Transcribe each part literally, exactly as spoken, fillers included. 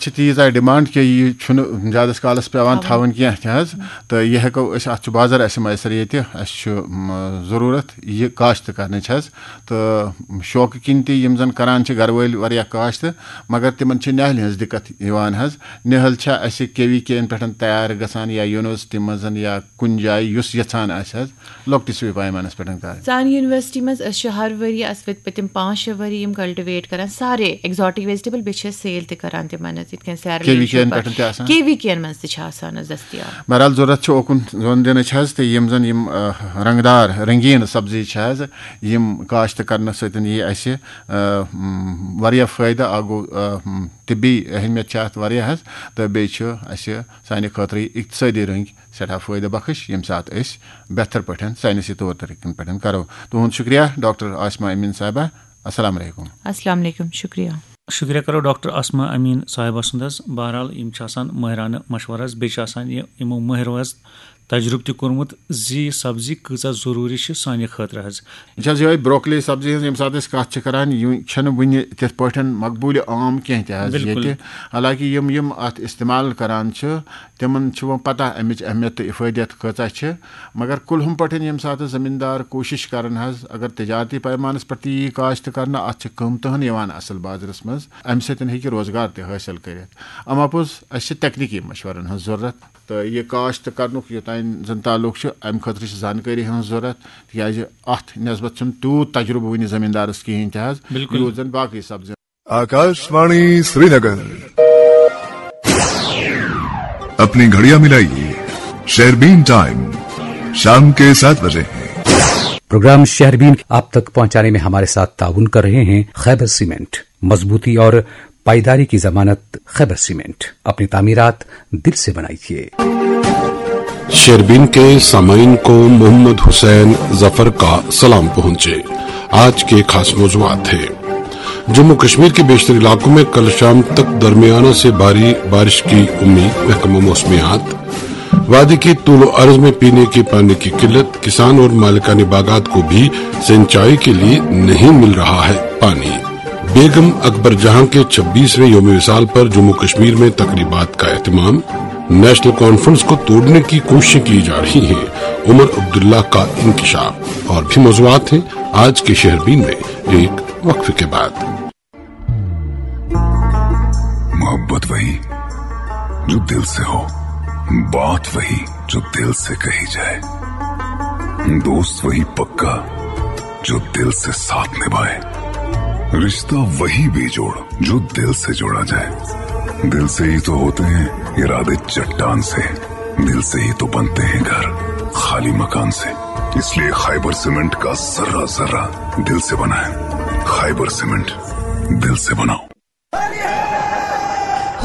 چھِ تیٖژ آیہِ ڈِمانڈ کہِ یہِ چھُنہٕ زیادَس کالَس پٮ۪وان تھاوُن کینٛہہ تہِ حظ۔ تہٕ یہِ ہٮ۪کو أسۍ، اَتھ چھُ بازر اَسہِ میسر ییٚتہِ، اَسہِ چھُ م، ضروٗرت یہِ کاشت کرنٕچ حظ۔ تہٕ شوقہٕ کِنۍ تہِ یِم زَن کران چھِ گرٕ وٲلۍ واریاہ کاشت، مگر تِمن چھِ نِہٲلہِ ہٕنٛز دِقت یِوان حظ۔ نِہٲلۍ چھا اَسہِ کے وی کے یَن پٮ۪ٹھ تیار گژھان یا یونیورسٹی منٛز یا کُنہِ جایہِ یُس یَژھان آسہِ حظ لۄکٹِس پیمانَس پٮ۪ٹھ کرٕنۍ؟ سانہِ یونیورسٹی منٛز أسۍ چھِ ہر ؤری، اَسہِ وٲتۍ پٔتِم پانٛژھ شےٚ ؤری یِم کلٹِویٹ کران سارے ایگزاٹک ویجٹیبل، بیٚیہِ چھِ أسۍ سیل تہِ کران تِمن حظ، یِتھ کٔنۍ سیرلین کے وی کے یَن چھُ پٮ۪ٹھ تہِ آسان؟ کے وی کے یَن منٛز تہِ چھِ آسان حظ دٔستیاب۔ بہرحال، ضروٗرت چھِ اوکُن زۄن دِنٕچ حظ، تہٕ یِم زَن یِم، آ، رنٛگدار، رنٛگیٖن سبزی چھِ حظ، یِم کاشت کرنہٕ سۭتۍ یی اَسہِ، آ، م، واریاہ فٲیدٕ۔ اَکھ گوٚو، آ، م، طبی اہمیت چھِ اَتھ واریاہ حظ، تہٕ بیٚیہِ چھُ اَسہِ سانہِ خٲطرٕ یہِ اقتصٲدی رٔنٛگۍ سٮ۪ٹھاہ فٲیدٕ بخش، ییٚمہِ ساتہٕ أسۍ بہتر پٲٹھۍ ساینسی طور طریٖقن پٮ۪ٹھ کرو۔ تُہُنٛد شُکریہ، ڈاکٹر عاصمہ امیٖن صاحبہ۔ السلام علیکم۔ السلام علیکم، شُکریہ۔ شُکریہ کرو ڈاکٹر عاصمہ امین صاحبہ سُنٛد حظ۔ بہرحال، یِم چھِ آسان مٲہرانہٕ مشورٕ حظ، بیٚیہِ چھِ آسان یہِ، یِمو مٲہرو حظ تجرُبہٕ تہِ کوٚرمُت زِ یہِ سبزی کۭژاہ ضروٗری چھِ سانہِ خٲطرٕ حظ۔ یہِ چھِ حظ یِہوٚے بروکلی سبزی ہٕنٛز، ییٚمہِ ساتہٕ أسۍ کَتھ چھِ کَران، یہِ چھَنہٕ وٕنہِ تِتھ پٲٹھۍ مقبوٗل عام کینٛہہ تہِ حظ بِلکُل۔ ییٚتہِ۔ حالانکہِ یِم، یِم اَتھ استعمال کَران چھِ، تِمَن چھِ وۄنۍ پَتہ اَمِچ اہمیت تہٕ اِفٲدیت کۭژاہ چھِ۔ مگر کُلہُم پٲٹھۍ ییٚمہِ ساتہٕ زٔمیٖندار کوٗشِش کَرَن حظ، اگر تجارتی پیمانَس پٮ۪ٹھ تہِ یی کاشت کَرنہٕ، اَتھ چھِ قۭمتہٕ ہٕن یِوان اَصٕل بازرَس منٛز، اَمہِ سۭتۍ ہیٚکہِ روزگار تہِ حٲصِل کٔرِتھ۔ اَما پوٚز، اَسہِ چھِ تکنیٖکی مشورَن ہٕنٛز ضروٗرت۔ تہٕ یہِ کاشت کرنُک یوٚتام زن تعلق چھُ، امہِ خٲطرٕ چھِ زانکٲری ہٕنٛز ضروٗرت، تِکیازِ اتھ نسبت چھُنہٕ تیوٗت تجربہٕ وُنہِ زٔمیٖندارس کِہیٖنۍ تہِ حظ، بِلکُل۔ یوٗت زن باقٕے سبزی۔ आकाशवाणी श्रीनगर। अपनी घड़ियां मिलाइए, शेरबीन टाइम शाम के सात बजे है। प्रोग्राम शेरबीन आप तक पहुंचाने में हमारे साथ ताउन कर रहे हैं खैबर सीमेंट। मजबूती और पाईदारी की जमानत खैबर सीमेंट। अपनी तामीरात दिल से बनाइए। शेरबीन के सामाइन को मोहम्मद हुसैन जफर का सलाम पहुंचे। आज के खास मौजूआत हैं। जम्मू कश्मीर के बेशतर इलाकों में कल शाम तक दरमियाना से भारी बारिश की उम्मीद, महकमा मौसमियात। वादी की तूल अर्ज में पीने के पानी की किल्लत, किसान और मालिकाने बागात को भी सिंचाई के लिए नहीं मिल रहा है पानी। बेगम अकबर जहां के छब्बीसवें योम विसाल पर जम्मू कश्मीर में तकरीबात का एहतमाम। नेशनल कॉन्फ्रेंस को तोड़ने की कोशिशें की जा रही हैं। उमर अब्दुल्ला का इंकशाफ और भी मौजूआत हैं आज के शेरबीन में एक वक्फे के बाद। मोहब्बत वही जो दिल से हो, बात वही जो दिल से कही जाए, दोस्त वही पक्का जो दिल से साथ निभाए, रिश्ता वही बेजोड़ जो दिल से जोड़ा जाए। दिल से ही तो होते हैं इरादे चट्टान से, दिल से ही तो बनते हैं घर खाली मकान से। इसलिए खाइबर सीमेंट का जर्रा जर्रा दिल से बनाएं। खाइबर सीमेंट, दिल से बनाओ।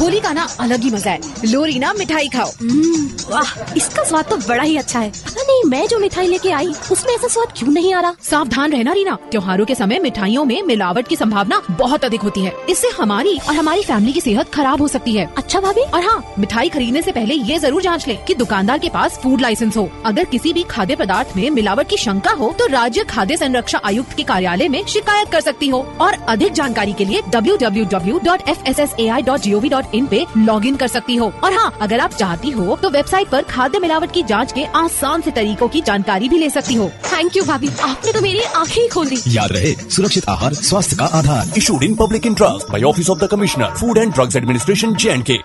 होली का ना अलग ही मजा है। लो रीना, मिठाई खाओ। हम्म, वाह, इसका स्वाद तो बड़ा ही अच्छा है। पता नहीं मैं जो मिठाई लेके आई उसमें ऐसा स्वाद क्यों नहीं आ रहा। सावधान रहना रीना, त्योहारों के समय मिठाइयों में मिलावट की संभावना बहुत अधिक होती है। इससे हमारी और हमारी फैमिली की सेहत खराब हो सकती है। अच्छा भाभी। और हाँ, मिठाई खरीदने से पहले ये जरूर जांच लें कि दुकानदार के पास फूड लाइसेंस हो। अगर किसी भी खाद्य पदार्थ में मिलावट की शंका हो तो राज्य खाद्य संरक्षा आयुक्त के कार्यालय में शिकायत कर सकती हो। और अधिक जानकारी के लिए W W W dot F S S A I dot G O V dot in पे लॉग इन कर सकती हो। और हाँ, अगर आप चाहती हो तो वेबसाइट पर खाद्य मिलावट की जांच के आसान से तरीकों की जानकारी भी ले सकती हो। थैंक यू भाभी, आपने तो मेरी आंखें ही खोल दी। याद रहे, सुरक्षित आहार स्वास्थ्य का आधार। Issued in public interest by Office of the Commissioner, Food and Drugs Administration, J and के।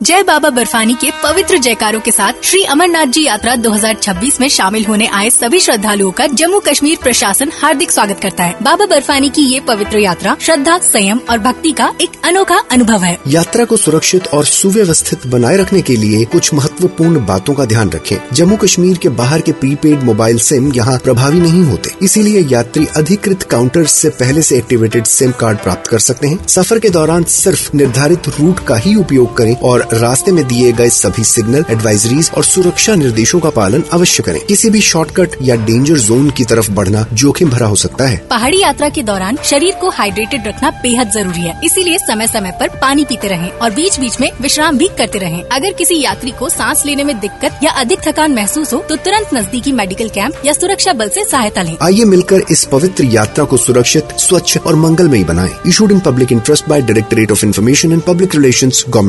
जय बाबा बर्फानी के पवित्र जयकारों के साथ श्री अमरनाथ जी यात्रा दो हज़ार छब्बीस में शामिल होने आए सभी श्रद्धालुओं का जम्मू कश्मीर प्रशासन हार्दिक स्वागत करता है। बाबा बर्फानी की ये पवित्र यात्रा श्रद्धा, संयम और भक्ति का एक अनोखा अनुभव है। यात्रा को सुरक्षित और सुव्यवस्थित बनाए रखने के लिए कुछ महत्वपूर्ण बातों का ध्यान रखें। जम्मू कश्मीर के बाहर के प्रीपेड मोबाइल सिम यहाँ प्रभावी नहीं होते, इसीलिए यात्री अधिकृत काउंटर्स से पहले से एक्टिवेटेड सिम कार्ड प्राप्त कर सकते हैं। सफर के दौरान सिर्फ निर्धारित रूट का ही उपयोग करें और रास्ते में दिए गए सभी सिग्नल, एडवाइजरीज और सुरक्षा निर्देशों का पालन अवश्य करें। किसी भी शॉर्टकट या डेंजर जोन की तरफ बढ़ना जोखिम भरा हो सकता है। पहाड़ी यात्रा के दौरान शरीर को हाइड्रेटेड रखना बेहद जरूरी है, इसीलिए समय समय पर पानी पीते रहें और बीच बीच में विश्राम भी करते रहें। अगर किसी यात्री को सांस लेने में दिक्कत या अधिक थकान महसूस हो तो तुरंत नजदीकी मेडिकल कैंप या सुरक्षा बल से सहायता लें। आइए मिलकर इस पवित्र यात्रा को सुरक्षित, स्वच्छ और मंगलमयी बनाएं। Issued in public interest by Directorate of Information and Public Relations, Government